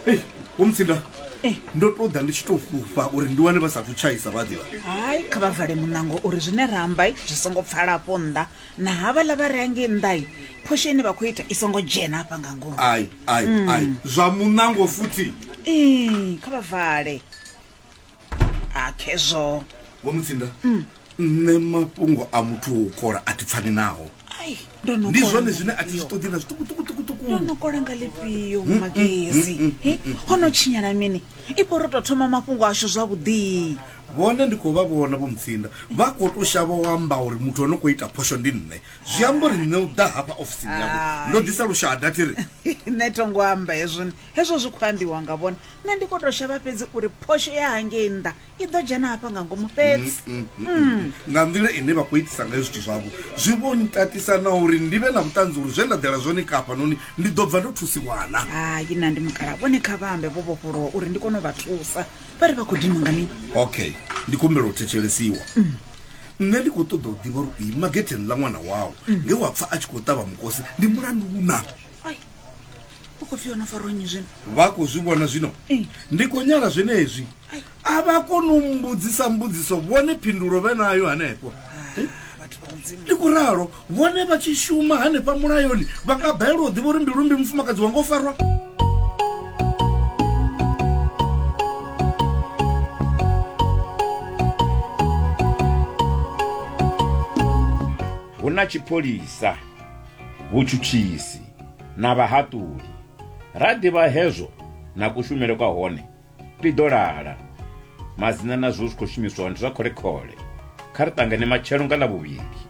Ei, vho Mutsinda, Eh. ndo tou ḓa ndi tshi tou fhufha uri ndi wane vha sathu tshaisa vha ḓivha. Hai, kha vha vale muṋango uri zwine ra amba zwi songo pfala afho nnḓa. Na havhaḽa vha re hangei nnḓa, phosho ine vha khou ita i songo dzhena hafha nga ngomu. Ai, ai, ai, zwa muṋango futhi. Ee, kha vha vale. A khezwo. Vho Mutsinda, nṋe mafhungo a muthu wo kola a thi pfani naho. Ai, ndo no Ndi kola zwone nga zwine a thi zwi ḽifhio? ṱoḓi na zwiṱukuṱukuṱukuṱuku. Ndo no kola nga ḽifhio Magezi? He, ho no tshinyala mini? Ifho ro tou thoma mafhungo ashu zwavhuḓi. Vhone ndi khou vha vhona Vho Mutsinda vha khou tou shavha u amba uri muthu o no khou ita phosho ndi nṋe. Zwi amba uri nṋe u ḓa hafha ofisini yavho ndo ḓisa lushada thi ri. Nṋe tho ngo amba hezwo, hezwo zwi khou ambiwa nga vhone. Nṋe ndi khou tou shavha fhedzi uri phosho ya hangei nnḓa i ḓo dzhena hafha nga ngomu fhedzi. Nga nḓila ine vha khou itisa ngayo zwithu zwavho zwi vho ntatisa na uri ndi vhe na vhuṱanzi uri zwe nda ḓela zwone hafhanoni ndi ḓo bva ndo thusiwa na. Hai na ndi mukala, vhone kha vha ambe vho vhofholowa uri ndi kone u vha thusa. Vha ri vha khou dinwa nga mini? Okay, ndi khou humbela u thetshelesiwa. Nṋe ndi khou ṱoḓa u ḓivha uri u ima getheni ḽa ṅwana wau nge wa pfa a tshi khou ṱavha mukosi ndi mulandu na? Ai, u khou pfi yo no farwa nnyi zwino? Vha khou zwi vhona zwino? Ndi khou nyala zwenezwi. A vha koni u mbudzisa mbudziso vhone phindulo vhe nayo hanefho. Vhathu vha Mudzimu. Ndi khou ralo, vhone vha tshi shuma hanefha mulayoni vha nga balelwa u ḓivha uri mbilu mmbi mufumakadzi wanga o farwa. Hu na tshipholisa, vhutshutshisi na vhahaṱuli. Ra ḓivha hezwo na kushumele kwa hone, ḽi ḓo lala. Madzina na zwo zwi khou shumiswaho ndi zwa khole-khole. Kha ri ṱangane matshelo nga Ḽavhuvhili.